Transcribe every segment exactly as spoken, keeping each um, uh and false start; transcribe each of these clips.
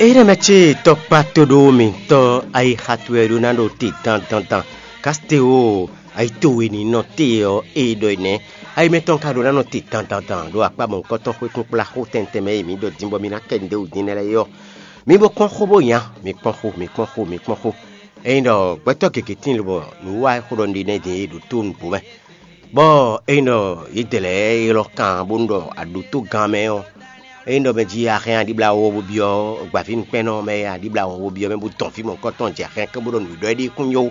Énɛ́ mɛ ce tɔkpa toɖo mǐtɔn ayixa towe ɖó ná ɖo te dandandan. Kasiteo ayitowe ní nɔ te ɔ́, é ɖɔ é nɛ́. Ayi mɛtɔn ka ɖó ná nɔ te dandandan ɖo akpá mɔ̌hunkɔtɔn xwé kúnkplá xó tɛntɛn mɛ e mǐ ɖɔ din bɔ mǐ ná kɛ nǔɖé wǔ din nɛ́ lɛ́ɛ é ɔ́. Mi bo kpɔ́n xó bó nya, mi kpɔ́n xó, mi kpɔ́n xó, mi kpɔ́n xó. Ényí ɖɔ gbɛtɔ́ gěgé tíin lobɔ nǔwiwa e xó ɖɔ un ɖe nɛ́ din é ɖo tó nǔgbó mɛ, bɔ ényí ɖɔ yědɛɛ lɛ́ɛ ylɔ́ kan bónú ɖɔ aɖǒtógán mɛ ɔ́, ényí ɖɔ mɛ jí a hɛn aɖíblá wɔ́ bó byɔ́ gbavǐnukpɛ́nnɔ mɛ aɖíblá wɔ́ bó byɔ́ mɛ bó dɔn fí mɔ̌hunkɔtɔn jɛ hɛn kɛ́n bó ɖɔ nǔɖɔ é ɖíe kún nyɔ́ ó.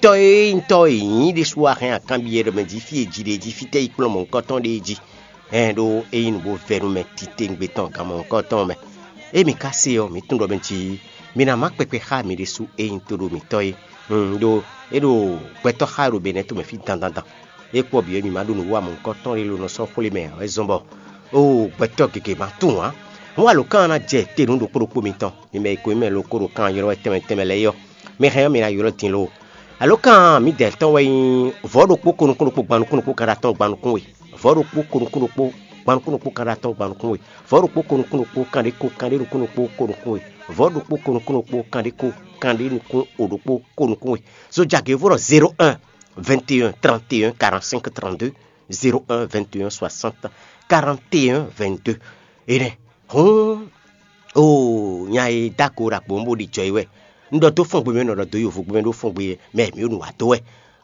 Tɔ́ e nyí tɔ́ e nyí ɖésú a hɛn akanbyɔ́ ɖɔ mɛ jí fí e jí ɖe é jí fítɛ́ yi kplɔ́n mɔ̌hunkɔtɔn ɖe é jí. Hɛn ɖó é nyí nǔ bó vɛ́ nú mɛ titewungbe tɔn gan mɔ̌hunkɔtɔn mɛ. Ée mǐ ka se ɔ́, mǐ tunwun ɖɔ mɛ jí mi ná má kpɛkpɛ xá mǐ ɖésú e nyí toɖomǐtɔ́ é. Ɖó é ɖo gbɛtɔ́ xá ɖo Benɛ́ tomɛ fí dandandan. É kpɔ bǐ ɔ́, mǐ ma ɖó nǔwiwa mɔ̌hunkɔtɔn ɖé ló nɔ sɔ́ xwlé mɛ ǎ wɛ zɔ́n bɔ oo gbɛtɔ́ gěgé ma tunwun ǎ. Hǔn alǒkan ɔ́ ná jɛ te nú ɖokpó ɖokpó mitɔn, mi mɛ e ko nyí mɛ lóko ɖo kan ylɔ́ wɛ tɛnmɛ tɛnmɛ lɛ́ɛ é ɔ́, mi hɛn ɔ́, mi ná ylɔ́ din lo. Alǒkan mǐdɛɛ tɔn wɛ nyí vɔ̌ ɖokpó ko nukún ɖokpó gban nukún ɖokpó kan ɖo atɔ́ɔ́n gban nukún we. Vɔ̌ ɖokpó ko nukún ɖokpó gban nukún ɖokpó kan ɖo atɔ́ɔ́n gban nukún we. Vɔ̌ ɖokpó ko nukún ɖokpó kan ɖé ko kan ɖé nukún ɖokpó ko nukún we. Vɔ̌ ɖokpó ko nukún ɖokpó kan ɖé ko kan ɖé nukún o ɖokpó ko nukún we. Zojagěvó ɖɔ zéro un vingt et un trente et un quarante-cinq trente-deux, zéro un vingt et un soixante quarante et un vingt-deux. Énɛ́ hǔn oo nya e dó ago ɖo agbǒ bó ɖi jɔ é wɛ. Un ɖɔ dó fɔ́n gbe mɛ, un nɔ ɖɔ dó yovo gbe mɛ ɖó fɔ́n gbe mɛ mǐ ɖo nǔ wa dó wɛ.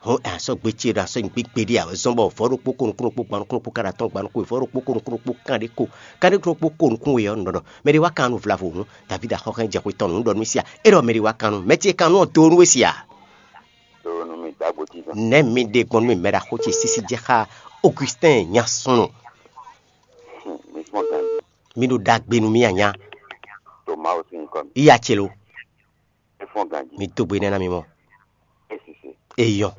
Hɔn asɔ́ gbe ce ɖo asɔ́ nyigbe gbeɖé a wɛ zɔ́n bɔ vɔ̌ ɖokpó ko nukún ɖokpó gban nukún ɖokpó kan ɖo atɔ́ɔ́n gban nukún we, vɔ̌ ɖokpó ko nukún ɖokpó kan ɖé ko kan ɖé ko ɖokpó ko nukún we ɔ́, un ɖɔ ɖɔ mɛ ɖé wá kan nú vlavo hǔn, David axɔ́ hɛn jɛ xwe tɔn nǔ, un ɖɔ nú mì sia. É ɖɔ mɛ ɖé wá kan nú mɛ ce e kan nú ɔ́ dó nú we sia. Ɖo nú mi dó agbo titɔn. Nɛ̌ mi ɖe gbɔn nú mì mɛ ɖaxó ce sísí jɛ xá Augustin nya súnnu? Mi fɔ́n ganjí. Mi ɖo ɖagbe nú mì anya. To Mawu sín nyǐkɔ mɛ. Iya ce lo. É fɔ́n ganjí. Mi dó gbe nɛ́ ná mi mɔ. É sise. Eyɔn.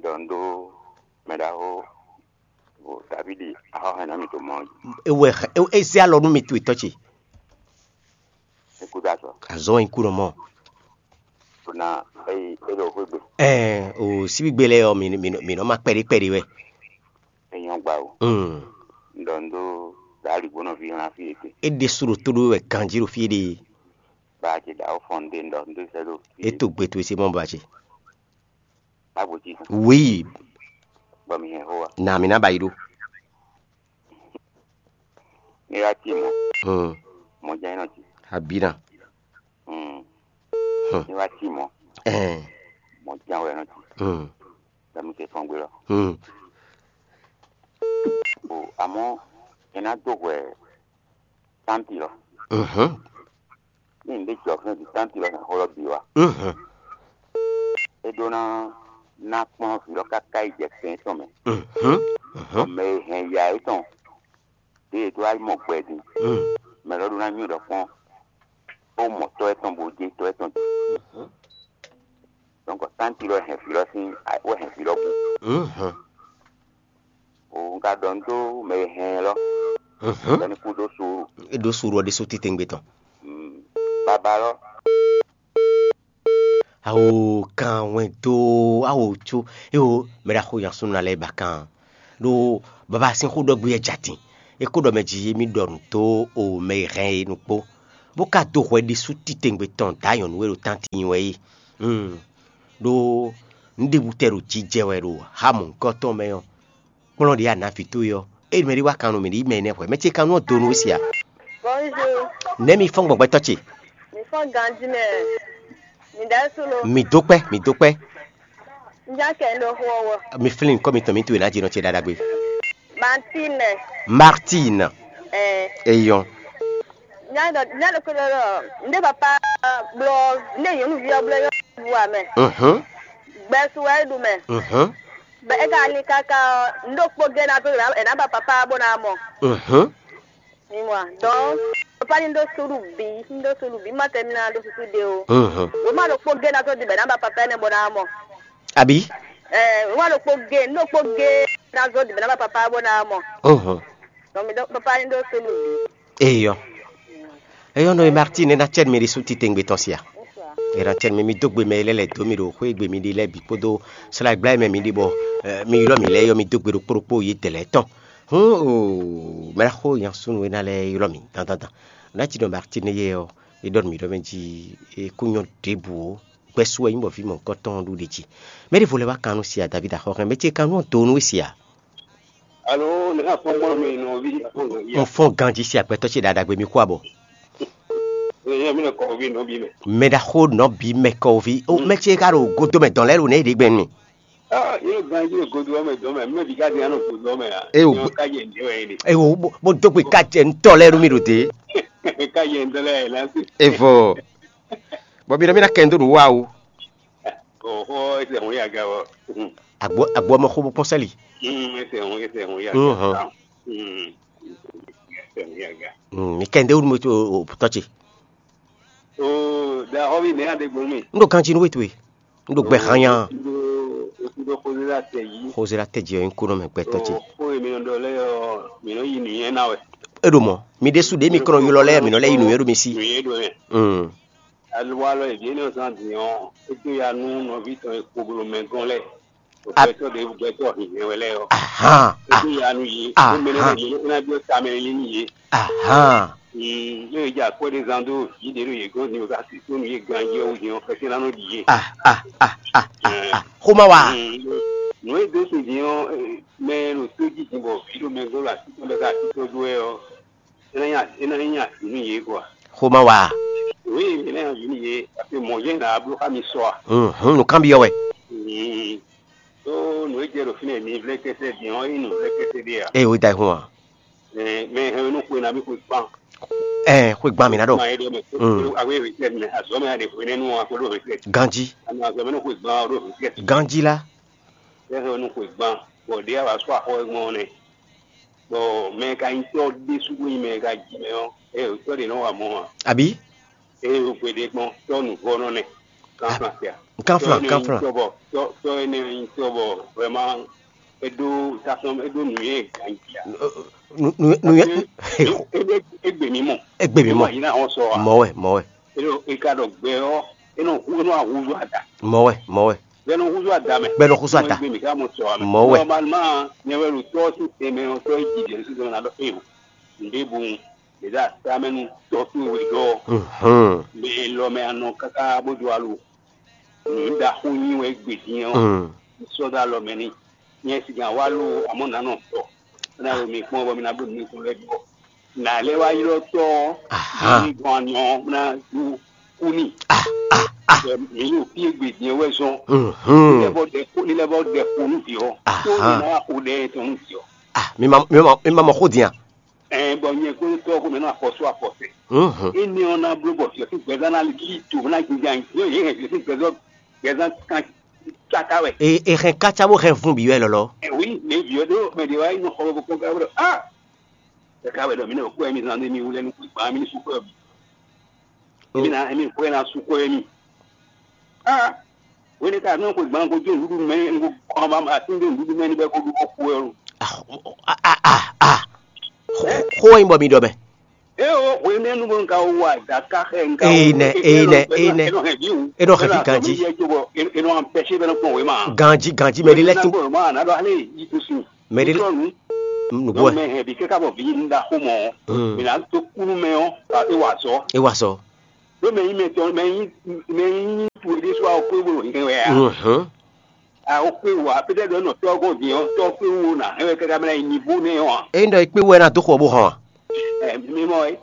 Ɖɔ un ɖó mɛ ɖaxó Davidi axɔ́ hɛn ná mi to mɔ ɔ́ jí. Ewɛ é zé alɔ nú mi to etɔ́ ce. Ní kúdó azɔ. Azɔ wɛ nyí kú nɔ mɔ. Ɖó ná é é ɖo xwé gbe. Ɛɛ o síbígbe lɛ́ɛ ɔ́, mǐ mǐ mǐ nɔ ma kpɛɖé kpɛɖé wɛ. É nyɔ́ gba o. Mm. Un ɖɔ un ɖó ɖo aligbónɔ ví hlan fí e te. É ɖésú ɖo tó ɖó wɛ ganjí ɖo fí e ɖe. Ba ce ɖo awo fɔn ɖe un ɖɔ un ɖó sɛ́ ɖo fí. É to gbe towe se mɔ ba ce. Agbo jí. Oui. Bɔ mi hɛn xó wa. Na mi ná ba yi ɖó. Ní wá tí mɔ. Mm. Mɔ jẹ́ iná tí. Abina. Mm. Hmm. Ní wá tí mɔ. Ɛɛ. Mɔ jẹ́ awɛ iná tí. Hmm. Bɛ mi se fɔn gbé lɔ. Hmm. O àmọ́ ẹ ná dó hwɛ táǹtì lɔ. Mhm. Ní n ɖé jɔ fún di táǹtì lɔ hɛn xó lɔ bǐ wa. Mhm. É ɖó ná ná kplɔ́n vǐ lɔ káká yi jɛ kɛn tɔn mɛ. Mhm. Mhm. Mɛ e hɛn ya é tɔn ɖěe é dó wá yi mɔ gbɛ din. Mm. Mɛ lɔ ɖó ná nywɛ́ ɖɔ kpɔ́n bó mɔ tɔ́ ɛtɔn bó jɛ tɔ́ ɛtɔn din. Mhm. Donc táǹtì lɔ hɛn vǐ lɔ sín wɛ hɛn vǐ lɔ bú. Mhm. O un ka ɖɔ un dó mɛ e hɛn lɔ. Mhm. Bɔ ní kú dó suuru. É ɖó suuru ɔ́ ɖésú titewungbe tɔn. Mm. Baba lɔ. Awo kan wɛn dó awo có. Eo mɛ ɖaxó nya súnnu lɛ́ɛ ba kan. Ɖó baba sín xó ɖɔ gbé yɛ jɛ atin. É kó ɖɔ mɛ jí émí ɖɔ nǔ dó o mɛ e hɛn é nukpó, bó ka dó hwɛ ɖésú titewungbe tɔn dǎ nyɔ̌nu e ɖo tánti nyi wɛ é. Hmm. Ɖó nǔɖébú tɛ ɖo jijɛ wɛ ɖo xá mɔ̌hunkɔtɔn mɛ ɔ́, kplɔ́n ɖě a nǎ vǐ towe ɔ́, ée mɛ ɖé wá kan nú mì ɖi mɛ énɛ́ hwɛ̌, mɛ ce kan nú ɔ́ do nú we sia. Bonjour. Nɛ̌ mi fɔ́n gbɔn gbɛtɔ́ ce? Mi fɔ́n ganjí mɛ. Mi ɖɛ̌ solo. Mi dó kpɛ́, mi dó kpɛ́. N já kɛ n ɖo xó ɔ́ wɔ. Mi flín nyǐkɔ mitɔn mi towe ná jínɔ ce ɖaɖagbe. Martine. Martine. Ɛɛ. Eyɔn. N já ɖɔ n já ɖɔ kó ɖɔ ɖɔ n ɖé papa blɔ n ɖé nyɔ̌nuví ɔ́ blɔ yɔ́ bu amɛ. Mhm. Gbɛsu wɛ é ɖu mɛ. Mhm. Bɛ é ka ní káká ɔ́, n ɖó kpó gɛ́ ná tó ɛ ná ba papá bó ná mɔ. Mhm. Mi mɔ a? Donc, papa ní ɖó súɖu bǐ, ní ɖó súɖu bǐ, má tɛ ní ná ɖó súsú ɖé o. Mhm. Wǒ má ɖo kpó gɛ́ ná tó ɖi bɛ ná ba papá énɛ́ bó ná mɔ. Àbí? Ɛɛ, wǒ má ɖo kpó gɛ́, ní ɖó kpó gɛ́ ná zó ɖi bɛ ná ba papá bó ná mɔ. Mhm. Donc, mi ɖó papa ní ɖó súɖu bǐ. Eyɔ. Eyɔ nɔ Martine ena cɛn mi ɖi su titengbe tɔn sia. Ena cɛn mi mi dó gbe mɛ lɛ lɛ do mi ɖo xwé gbe mi ɖi lɛ bǐ kpódó sla gbla mɛ mi ɖi bɔ mi ylɔ mi lɛ yɔ mi dó gbe ɖokpó ɖokpó yi tɛlɛ tɔn. Hǔn o mɛ xó nya súnnu ena lɛ ylɔ mi dandandan. Ná jí ɖɔ Martine yɛ ɔ́, é ɖɔ nú mǐ ɖɔ mɛ jí é kú nyɔ́ ɖěbǔ ó. Gbɛ́ su wɛ nyí bɔ vǐ mɔ̌hunkɔtɔn ɔ́ ɖu ɖě jí. Mɛɖěvo lɛ́ wá kan nú sia David axɔ́hɛn, mɛ ce kan nú ɔ́ do nú we sia. Alo, ne ka fɔn gbɔn mi nɔvi. Un fɔ́n ganjí sia gbɛtɔ́ ce ɖaɖagbe mi kú abɔ. Eye mi ne kɔ vi nɔvi mɛ. Mɛ ɖaxó nɔbí mɛ kɔví ó mɛ ce ka ɖo godo mɛ dɔn lɛ́ɛ ɖo nɛ ɖě gbɛn mi. Ah, yóò gan yóò godo ɔmɛ dɔn mɛ, mɛ bi ka di anɔ godo ɔmɛ ya. Eye o Yóò ka yɛ ǹdí wɛ yé de. Eye o bó dó gbe ká jɛ ntɔ lɛ́ɛ nú mi ɖo dé. Ka yɛ ǹdí lɛ yɛ lásì. Evɔ bɔ mi ɖɔ mi ná kɛ ndo ɖo wa o. Oho, ese hun ya ga wɔ. Agbo agbo ɔmɔ xó bó pɔn sɛli. Hmm, ese hun ese hun ya Mhm. ga. Hmm. Ese hun ya ga. Mi kɛ ndo ɖo mi tɔ ce. Oh, da hɔvi ne ya de gbɔn mi. N ɖo ganji nú we towe. N ɖo gbɛ hanya. Oku ɖo xozela tɛ yi. Xozela tɛ ji ɔyin kó nɔ mɛ gbɛtɔ ce. Xo emi nɔ ɖɔ lɛ ɔ, mi nɔ yi nìyɛn na wɛ. E ɖo mɔ mi ɖésú ɖe mi kɔnɔ ylɔ lɛ mi nɔ lɛ yi nǔnywɛ́ ɖo mi sí. Nǔnywɛ́ ɖo mɛ. Mm. Alɔ alɔ eviɛ ne zan din ɔ, e do ya nú nɔvi tɔn e kpoglo mɛ gɔn lɛ. Gbɛtɔ ɖe gbɛtɔ hinhɛn wɛ lɛ ɔ. Ahan. E do ya nú yi. Ahan. Mɛ ne mi ne bi ta mɛ yi ni ye. Ahan. Ne e dza kpɔ́ ɖé zán dó vǐ ɖě ɖo yě gɔ́n din bɔ ka sixú nú yě ganjí ɔ́ wú din ɔ́, xɛsɛ́ ná nɔ ɖi yě. Ah, ah, ah, ah, ah, ah. Xoma wa. Nǔ e dó sin din ɔ́, mɛ e ɖo tó jí din bɔ vǐ ɖo mɛ gɔ́n ɖo así tɔn bɔ ka así tɔn dó wɛ ɔ́, é ná nyí é ná nyí avǐ nú yě quoi. Xoma wa. Oui, é ná nyí avǐ nú yě, parce que mɔ̌ jɛ́n ná bló xá mi sɔ a. Hum, nǔkanbyɔ́ wɛ. Tó nǔ e jɛ ɖo fínɛ́ mi vlɛ́ kɛsɛ din ɔ́, é nyí nǔ vlɛ́ kɛsɛ ɖé a? Eye wé da ayihun a? Mɛ hɛn nú xwe nabí xwe kpan. Ɛɛ, xwe gban mǐ ná ɖɔ. Ma yɛ ɖɔ mɛ. Mm. Awe retraite mɛ, azɔ mɛ aɖe xwe nɛnu a ko ɖo retraite. Ganji. Ama azɔ mɛ nú xwe gban ɔ ɖo retraite. Ganji la. Ɛ hɛn nú xwe gban. Bɔ ɖe a wa sɔ axɔ e gbɔn nɛ. Bɔ mɛ ka nyi tɔ ɖe sugu nyi mɛ ka ji mɛ ɔ. Ɛ o tɔ ɖe nɔ wa mɔ a. Àbí? Eye o gbe ɖe gbɔn tɔ nuvɔ nɔ nɛ. Kanflan sia. Kanflan, kanflan. Tɔ bɔ tɔ tɔ ene nyi tɔ bɔ vraiment eɖo tasɔn eɖo nuyɛ ganji a. Nu nu nu yɛ. Egbe mi mɔ. Egbe mi mɔ. Yi na wɔn sɔ wa. Mɔ wɛ, mɔ wɛ. Eno eka ɖɔ gbɛ ɔ, eno hu eno ahuzu ada. Mɔ wɛ, mɔ wɛ. Bɛnɔ huzu ada mɛ. Bɛnɔ huzu ada. Egbe mi ka mɔ sɔ wa mɛ. Mɔ wɛ. Normalement nyɛ wɛ ɖo tɔ si tɛmɛ ɔ tɔ yi jijɛ si tɛmɛ na ɖɔ eyo. Nde bu. Ɖeɖe atamɛnu tɔ towe wɛ ɖɔ. Mhm. Mɛ lɔ mɛ anɔ káká bó do alu. Nǔ ɖaxó nyi wɛ gbe din ɔ́. Mm. Sɔ́ dó alɔ mɛ n'i. Nyɛ sigan wá ló amɔ̌ nǎ nɔ tɔ. Bó ná ɖo mi kpɔ́n bɔ mi ná bló mi kún lɛ́ bǐ. Nǎ lɛ́ wá ylɔ́ tɔ ɔ́. Aha. Mi gɔn anyɔ ɔ́, bó ná ɖó kú n'i. Ah, ah, ah. Bɔ mi ɖo fí e gbe din ɔ́ wɛ zɔn. Mhm. Ní lɛ́ bɔ ɖɛ kó ní lɛ́ bɔ ɖɛ kó nú vǐ ɔ́. Tó Aha. Ní ná wá xo ɖɛ tɔn nú vǐ ɔ́. Ah, mi ma mi ma mi ma mɔ xó din a? Ɛɛ, bɔ nyɛ kpódó tɔ́ ɔ́ kpó mɛ nɔ afɔ sú afɔ sɛ. Mhm. Énɛ́ ɔ́ ná bló bɔ fiɔ́sín gbɛzán ná lí do ná jínjɔ́n ayǐ. Yě hɛn fiɔ́sín gbɛzán gbɛzán kan káká wɛ. E e hɛn kácá bó hɛn vun bǐ wɛ lɔlɔ. Ɛ wí, mɛ vǐ ɔ́ ɖó mɛ ɖě wá yi nɔ xɔ bɔ kpɔ́n ká wɛ ɖɔ á. Káká wɛ ɖɔ mǐ nɔ kpɔ́ ɛmí zán ɖé mì wú lɛ́ nú gbǎn mì ní sú kɔ́ ɔ́ bǐ. Mì ná mì xwé ná sú kɔ́ ɛmí. Á. Wéne ka nɔ xwe gbǎn ko jó nǔɖuɖu mɛ, un ko xɔ ma atín dó nǔɖuɖu mɛ ní bɔ é ko ɖu xó kú wɛ lo. Ah, ah, ah, ah. Xó xó wɛ nyí bɔ mi ɖɔ mɛ. É o hwe nɛ́ nu bó un ka wá dǎ ká xɛ un ka Ee, nɛ, ee, nɛ, ee, nɛ. É nɔ hɛn vǐ wú. É nɔ hɛn vǐ ganjí. Yɛ jó bɔ é nɔ ampɛsé bɛ nɔ kpɔn wé ma. Ganjí, ganjí, mɛ ɖé lɛ́ tín. Bɔ ma ná ɖɔ alé yi kú sin. Mɛ ɖé Trɔ nu. Nǔgbó wɛ. Mɛ hɛn vǐ kɛ́ ká bɔ vǐ yi nu ɖaxó mɔ. Hmm. Mɛ ná tó kúnú mɛ ɔ́, é wa sɔ. É wa sɔ. Ɖó mɛ nyí mɛ tɔn mɛ nyí mɛ nyí tu e ɖésú awo kpé bó ɖo hɛn wɛ a? Mhm. A o kpé wò a, peut-être nɔ tɔ́ gɔn din ɔ́, tɔ́ kpé wò na hɛn wɛ káká mɛ yi nivo nɛ ɔ́ a? Ényí ɖɔ é kpé wɛ ná dó xɔ bó hɔn a? Ɛ mi mɔ é.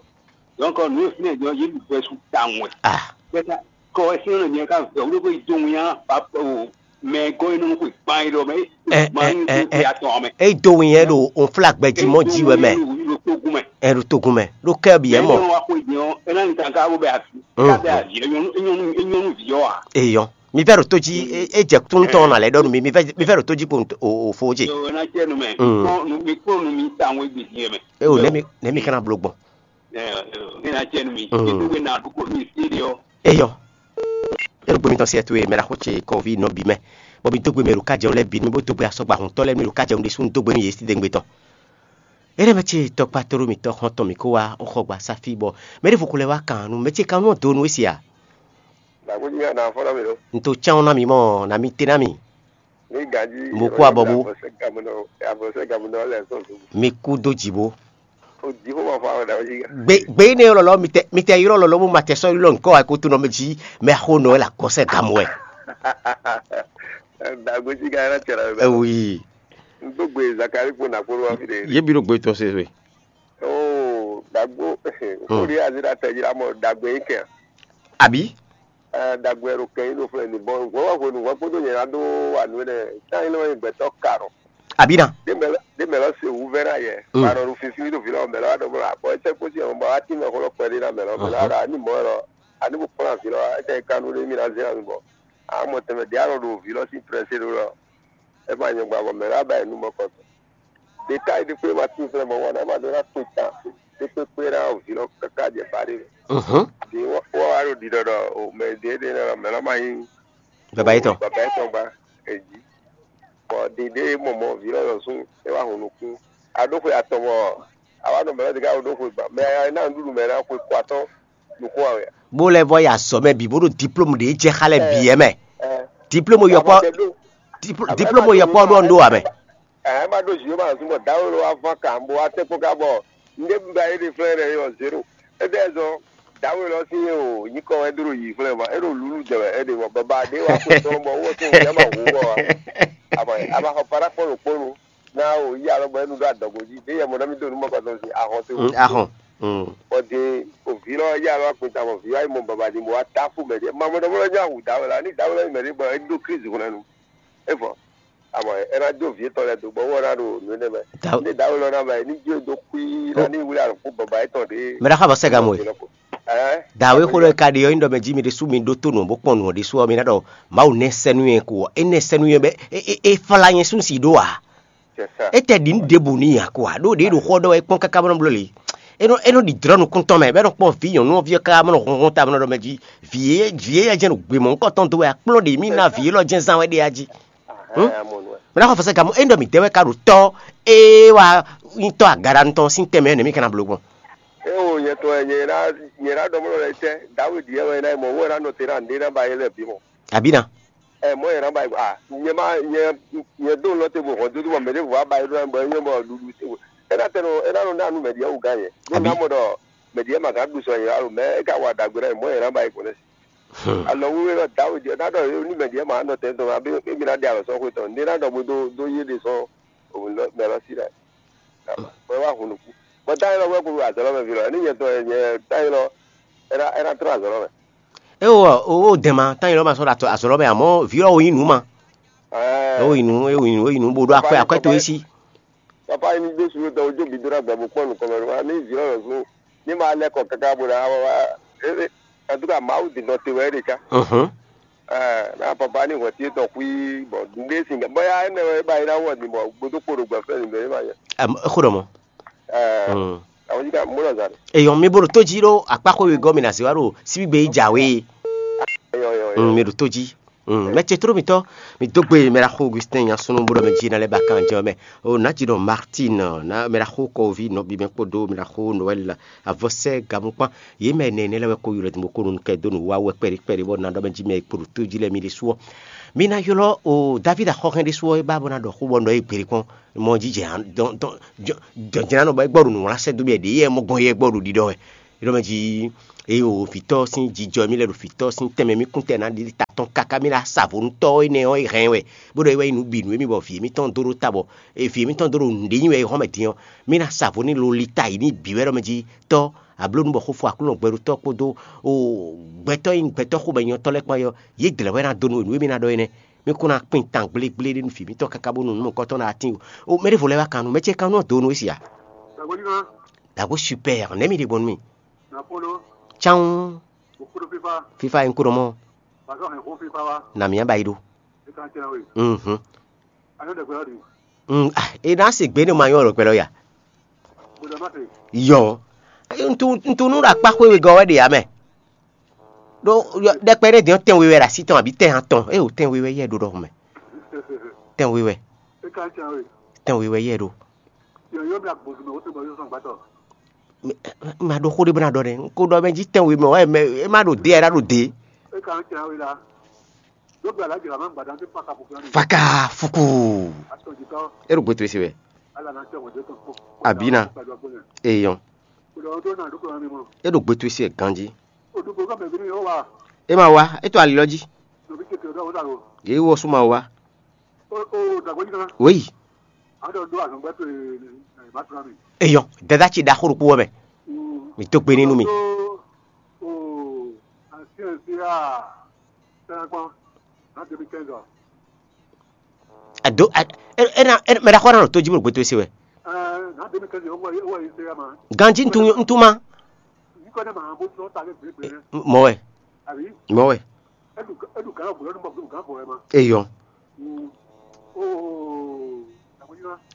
Donc nǔ e fínɛ jɔ yé ɖu gbɛsú tawun wɛ. Ah. Bɛta kɔ wɛ sínú nɔ nyɛ ká vɛ wúlò kó yi dó wín á, o mɛ gɔ́ yi nɔ kó gbán yi ɖɔ mɛ. Ɛ, ɛ, ɛ, ɛ. Gbán yi dó atɔn mɛ. É dó wín yɛ ɖo òun flá gbɛ jí mɔ jí wɛ mɛ. Ɖo togun mɛ. Ɛ ɖo togun mɛ. Ɖo kɛ bi yɛ mɔ. Ɛ wa xo jɛ ɔ, ɛ na nyi kankan wo bɛ afi. Mm. Ká bɛ avi, ɛ nyɔnu, ɛ nyɔnu, ɛ nyɔnu vi ɔ a. Eyɔ. Mi vɛ ɖo tó jí, é jɛ tún tɔn na lɛ ɖɔ nu mi, mi vɛ mi vɛ ɖo tó jí kpo o o fo jɛ. Yo, ɛ na jɛ nu mɛ. Mm. Mi kpɔn nu mi kpɔn nu mi ta ŋwe gbe diɛ mɛ. E o nɛ mi nɛ mi kana blo gbɔn. Ɛ ɛ, ɛ na jɛ nu mi. Mm. Ibu bɛ na ɖu ko mi si de ɔ. Eyɔ. Ero gbe mi tɔn si ɛtu e mɛ la xo ce kɔvi nɔ bi mɛ. Bɔ mi dogbe mɛ ɖo kajɛ lɛ bi mi bo dogbe asɔgba hun tɔ lɛ mi ɖo kajɛ ɖe sun dogbe mi ye si degbe tɔn. Ere mɛ ce tɔkpa toro mi tɔ xɔn tɔn mi ko wa o xɔ gba safi bɔ mɛ ɖe fo ko lɛ wa kan nu mɛ ce kan nu do nu esi a. Nagbo nya na fɔ na mi lo. Nto chan na mi mɔ na mi te na mi. Ni gaji. Mo kú abɔ bo. Avɔsɛ gamu nɔ avɔsɛ gamu nɔ lɛ sɔn. Mi kú do dzi bo. O jǐxó ma fa wɛ ɖa wɛ gbe gbe énɛ́ ylɔ́ lɔ mitɛ mitɛ ylɔ́ lɔ lɔ mo ma tɛ sɔ́ ylɔ́ nǔkɔ wɛ kó to nɔ mɛ jí mɛ xo nɔ wɛ la kɔsɛ gǎn mɔ wɛ. Dagbe sí ka yɛn tɛ la wɛ. Ewi. N do gbe Zakari kpo na kpo wa fi de. Ye bi ɖo gbe tɔn se we. Oo dagbo. Ko de azi da tɛ jira mɔ dagbe yi kɛ. Abi. Dagbe ɖo kɛ yi ɖo flɛ ni bɔn hwɛ wa hwenu hwɛ kpodo nyɛ na do wa nu ne ta yi lɛ gbɛtɔ karɔ. Abi na. De mɛ lɔ se wu vɛ na yɛ. Karɔ ɖo fifi ɖo vi lɔ mɛ lɔ wa ɖɔ bɔ la bɔ ɛsɛ kposi ɔn bɔ wa ti mɛ xɔ lɔ kpɛ de na mɛ lɔ mɛ lɔ wa ɖɔ ani mɔ lɔ ani bo kplɔn avi lɔ ɛsɛ kanu ɖe mi na zɛ ami bɔ amɔ tɛmɛ de alɔ ɖo vi lɔ si prɛse ɖo lɔ. Ɛ ma nyɔgba bɔ mɛ lɔ aba yi nu mɔ kɔtɔ. Ɖeka yi ɖi kpé ma tín flɛ mɔ wɔn ná ma ɖó ná kpé tán ɖé kpékpé ná vǐ lɔ káká jɛ ba ɖé. Ɖi wɔ wá ɖo ɖiɖɔ ɖɔ o mɛ ɖě ɖě nɔ mɛ lɔ ma nyí Baba yetɔn. Baba yetɔn gba èjì. Bɔ ɖiɖe mɔmɔ vǐ lɔ lɔ sún é wá hun nukún. Aɖó xwe atɔn bɔ awa nɔ mɛ lɔ ɖeka ɖó xwe gba mɛ ná nǔɖuɖu mɛ ná xwe kɔ atɔn nukún awɛ. Bó lɛ́ vɔ yi azɔ̌ mɛ bǐ bó ɖo diplôme ɖě jɛ xá lɛ bǐ ɛ mɛ. Diplôme yɔkpɔ diplôme yɔkpɔ ɖo ɔn ɖó ame. Ɛ ma ɖo zi ma zun bɔ dawe lɔ wa vɔn kan bo wa tɛ kpɔn ka bɔ nde ba ye de flɛ ɖe yɔ zero. Ede zɔn dawe lɔ si ye o nyikɔ wɛ do ɖo yi flɛ ma e ɖo lulu jɛ wɛ e ɖe bɔ baba de wa ko tɔn bɔ wo to ya ma hu bɔ wa. Ama ama xɔ para kpɔn ɖo kpɔnu na o yi alɔ bɔ e nu ɖo adɔgo ji de yɛ mɔ na mi do nu mɔ kɔtɔ si ahɔn to. Ahɔn. Bɔ de o vi lɔ ya lɔ akpin ta bɔ vi wa yi mɔ baba di mo wa ta fu mɛ de ma mɔ dɔ bɔ lɔ nya hu dawe la ni dawe lɔ yi mɛ de bɔ e do krizi hɔn nu. Evɔ abɔ ɛ ná jó vǐ tɔn lɛ́ɛ dó gbɔ wɔ ná ɖo nǔ énɛ́ mɛ. Ní dǎwe lɔ ná mɛ ní jó dó xwí ná ní wlí alɔkú bɔbɔ ayé tɔn ɖě. Mɛ ɖaxó abɔ sɛ́ gamɔ e. Dǎwe xó lɔ ka ɖe ɔ́ nyí ɖɔ mɛ jí mi ɖésú mi ɖótó nǔ bó kpɔn nǔ ɔ́ ɖésú ɔ́ mi ná ɖɔ Mawu nɛ́ sɛ́ nú nyɛ ko ɔ́ é nɛ́ sɛ́ nú nyɛ bɔ é fá nyɛ sún si ɖó ǎ. É tɛ ɖi nǔ ɖěbǔ n'i ǎ ko ǎ ɖó ɖě ɖo xó ɔ́ ɖɔ wɛ é kpɔ́n káká bó nɔ bló lě. É nɔ é nɔ ɖi dlɔ̌ nukún tɔn mɛ bɔ é nɔ kpɔn vǐ nyɔ̌nu ɔ́ ví ɔ́ káká bó nɔ hlɔ́nhlɔ́n ta bó nɔ ɖɔ mɛ jí vǐ e vǐ e jɛ́n ɖo gbe mɔ̌hunkɔ tɔn dó wɛ akplɔ́ ɖě mì ná vǐ élɔ́ jɛ́n zán wɛ ɖe a jí. Mɛ ná xɔ fɔsɛ gamɔ é ɖɔ mǐ dɛ wɛ ka ɖo tɔ́ ée wá nyí tɔ́ agaɖanu tɔn sín tɛnmɛ nɛ mí ka ná bló gbɔn. É wo nyɛ tɔn wɛ nyɛ ná nyɛ ná ɖɔ mɔ lɛ tɛ Dawidi yɛ wɛ ná mɔ wɛ ná nɔ te ná nɖé ná ba yɛ lɛ bǐ mɔ. Abǐ ná. Ɛ mɔ yɛ ná ba yɛ a nyɛ ma nyɛ nyɛ dó lɔ te bo hɔn dúdú bɔ mɛ ɖěvo wá ba yɛ ɖó ná bɔ é nyɔ bɔ ɖuɖu te bo é ná tɛ nɔ é ná nɔ ná nu mɛ ɖíɛ wú gán yɛ. Ɖó ná mɔ ɖɔ mɛ ɖíɛ ma gán ɖu sɔ yɛ alo mɛ é ka wa ɖagbe ná mɔ yɛ ná ba yɛ kɔn nɛ. Alɔ wíwé lɔ Dawidi ɔ́ ná ɖɔ ní mɛ ɖíe ma nɔ tɛn tɔn abí émi ná ɖe alɔ sɔ́ xwe tɔn ní ná ɖɔ bó dó dó yé ɖe sɔ́ mɛ lɔ sí ɖɛ. Bɔ é wá hun nukú. Bɔ táyé lɔ wɛ kúrú azɔ̌ lɔ mɛ ví lɔ ní nyɛ tɔn nyɛ táyé lɔ é ná é ná trɔ́n azɔ̌ lɔ mɛ. É o o o dɛn ma táyé lɔ ma sɔ́ ɖo azɔ̌ lɔ mɛ àmọ́ vǐ lɔ wo nyí nǔ ma. É wo nyí nǔ é wo nyí nǔ é wo nyí nǔ bó ɖó akwɛ akwɛ to é sí. Papa yi ní dó suɖu tɔn ojú bi dó ɖàgbà bó kpɔ́n nukɔn mɛ wá ní vǐ lɔ lɔ̌ ní ma lɛ́ kɔ káká bó ná wá wá en tout cas Mawu din nɔ te wɛ é ɖe cá. Ɛɛ ná papa ní hwɛ̌ tí é tɔn xwí bɔ nɖé sin bɔyá énɛ́ wɛ é ba yi ná wɔ din bɔ gbódó kpo ɖo gbɛ̌ fɛ́ din bɔ é ma nyɛ. Xó ɖɔ mɔ. Ɛɛ àwọn yíká mú lɔ zan. Eyɔn mi bolo tó jí ɖó akpáxó wegɔ́ mi ná zé wá ɖo síbígbe yi jǎwe. Eyɔn eyɔn eyɔn. Mi ɖo tó jí. Mɛ ce tló mitɔn mi dó gbe mɛ ɖaxó Augustin nyasunú bó ɖɔ mɛ jí ná lɛ́ ba kan jɛ mɛ o nǎ jí ɖɔ Martin ná mɛ ɖaxó kɔví nɔbí mɛ kpódó mɛ ɖaxó Noël avɔsɛ gamukpan yě mɛ nɛ nɛ lɛ́ wɛ kó ylɔ́ dínbó kó nu kɛ dó nǔ wá wɛ kpɛɖé kpɛɖé bɔ ná ɖɔ mɛ jí mɛ kpo ɖo tó jí lɛ mi ɖésú ɔ́. Mi ná ylɔ́ o David axɔxɛn ɖésú ɔ́ é ba bó ná ɖɔ xó bɔ nɔ é gběɖé kpɔ́n mɔ jí jɛ jɔjɛnánɔ bɔ é gbɔ ɖo nǔwlásɛ dó bia ɖě yɛ mɔ gbɔn yɛ gbɔ ɖo ɖiɖɔ wɛ. Ɖɔ mɛ jí eye o vǐtɔ́ sín jijɔ mì lɛ ɖo vǐtɔ́ sín tɛnmɛ mì kún tɛ ná ɖi ta tɔn káká mì ná sa vo nú tɔ́ énɛ́ ɔ́ é hɛn wɛ bó ɖɔ é wá nyí nǔ bǐ nú émí bɔ vǐ émítɔn dó ɖó ta bɔ vǐ émítɔn dó ɖo nǔɖé nyi wɛ é hɔn mɛ din ɔ́ mì ná sa vo ní lo li ta yi ní bǐ wɛ ɖɔ mɛ jí tɔ́ ablónú bɔ xófó aklúnɔ gbɛɖotɔ́ kpódó o gbɛtɔ́ e nyí gbɛtɔ́ xomɛnyɔ́tɔ́ lɛ́ɛ kpán ɔ́ yě dlɛ̌ wɛ ná dó nú we nǔ e mì ná ɖɔ énɛ́ mì kún ná kpin tan gblégbléɖé nú vǐ mítɔn káká bónú nǔ mɔ̌hunkɔtɔn ná tín o mɛ ɖěvo lɛ́ɛ wá kan nú mɛ ce kan nú ɔ́ dó nú we sia. Dǎgbó super nɛ̌ mi ɖe gbɔn nú mì. Cán. Fífá e un kó ɖɔ mɔ. Na mǐ ba yi ɖó. Mhm. Mm, ah, e ná se gbě ne ma nyɔ́ ɖo kpɛlɛ ya. Yɔ. Ntunu ɖo akpá xwé wegɔ́ wɛ ɖe ya mɛ. Ɖó ɖɛkpɛ ɖé dɛn tɛn we wɛ ɖo así tɔn àbí tɛn atɔn eye wò tɛn we wɛ yɛ ɖó ɖɔhun mɛ. Tɛn we wɛ. Tɛn we wɛ yɛ ɖó. Ma ɖo xó ɖé bó ná ɖɔ ɖɛ. N ko ɖɔ mɛ jí tɛn we mɛ wɛ mɛ e má ɖo dé ɛ ná ɖo dé. Faka fuku. E ɖo gbé to esi wɛ. Abina. Eyɔn. E ɖo gbe towe se ganjí. E ma wá, e to ali lɔ jí. Yě wɔ sú ma wá. Wéyi. Eyɔn, dada ce ɖaxó ɖokpó wɛ mɛ. Mi dó gbe ní nú mi. Ado, mɛ ɖaxó ná ɖo tó jí bó ɖo gbe towe se wɛ. Ganjí ntuma. Mɔ wɛ. Mɔ wɛ. Eyɔn.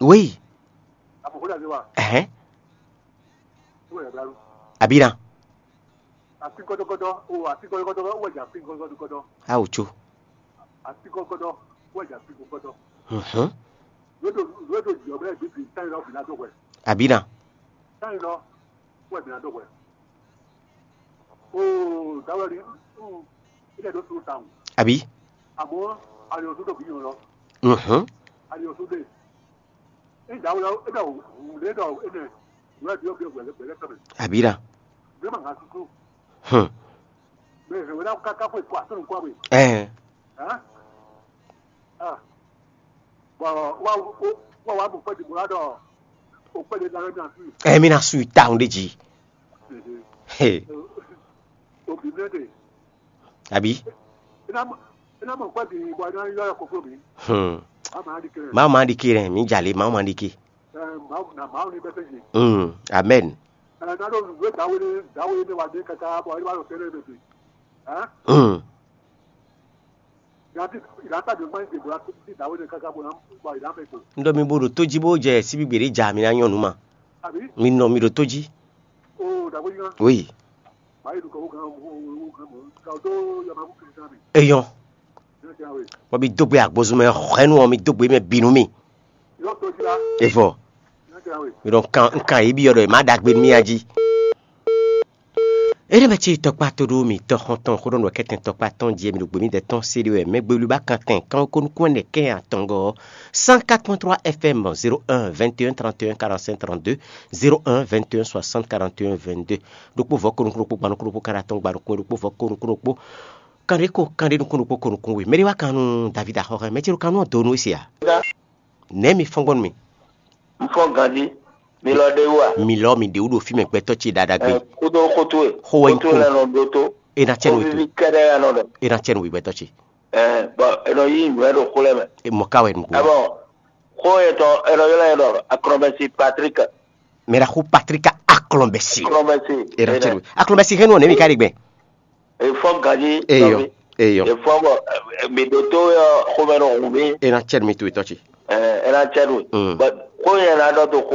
Wéyi. Ɛhɛn. Abina. Awu tso. Mhm. Abina. Abi. Mhm. Abina. Hmm. Ɛɛ. Ɛɛ, mi na su yi tawun ɖe jí. He. Abi. Hmm. Mawu ma ɖi ke rɛ, mi jalè, Mawu ma ɖi ke. Hmm. Amen. Hmm. N ɖɔ mi bo ɖo tó jí bó jɛ síbígbe ɖé ja mi ná nyɔ́ nǔ ma. Mi nɔ mi ɖo tó jí. Oui. Eyɔn. Bɔ mi dó gbe agbozun mɛ hwɛnu ɔ́, mi dó gbe mɛ bǐ nú mi. Evɔ. Mi ɖɔ kan un kan yě byɔ́ ɖɔ è má ɖagbe nú mì a jí. Énɛ́ mɛ cí tɔkpá tó ɖó mì tɔxɔntɔn xó ɖɔ nǔ kɛtɛn tɔkpá tɔn jí mi ɖo gběmídɛɛ tɔn sé ɖé wɛ mɛ gbelu ba kan tɛn kan ko nukún ɛnɛ kɛn atɔngɔ cent quatre point trois F M zéro un vingt et un trente et un quarante-cinq trente-deux, zéro un vingt et un soixante quarante et un vingt-deux. Ɖokpó vɔ ko nukún ɖokpó gba nukún ɖokpó kan atɔn gba nukún ɖokpó vɔ ko nukún ɖokpó kan ɖé ko kan ɖé nukún ɖokpó ko nukún we. Mɛ ɖé wá kan nú David axɔxɛ mɛ cí ɖo kan nú ɔ́ do nú é se a? Nɛ̌ mi fɔ́n gbɔn nú mì? Un fɔ́n ganjí. Mi lɔ ɖe wú a? Mi lɔ mi ɖe wú ɖo fí mɛ gbɛtɔ́ ce ɖaɖa gbe. Ɛ, kúdó xótó e. Xó wɛ nyí xótó kún. Lɛ nɔ ɖótó. E na cɛ nu Xóviví kɛɖɛ ya nɔ ɖɔ. E na cɛ nu gbɛtɔ́ ce. Ɛ, bɔn e nɔ yí nǔ wɛ ɖo xó lɛ mɛ. E mɔ ká wɛ nugbo. Ɛ bɔn xó yɛ tɔn e nɔ ylɔ́ yɛ ɖɔ Aklɔnbɛsi Patrik. Mɛ ɖaxó Patrik Aklɔnbɛsi. Aklɔnbɛsi. E na cɛ nu. Aklɔnbɛsi hɛn nu ɔ nɛ mi ka ɖe gbɛ. Efɔ ganji. Eyɔ. Eyɔ. Efɔ bɔ mi ɖo to yɔ xomɛ nɔ hun mi. E na cɛ nu mi to etɔ ce. Ɛ, e na cɛ nu. Mm. But ko yɛ na dɔ to xo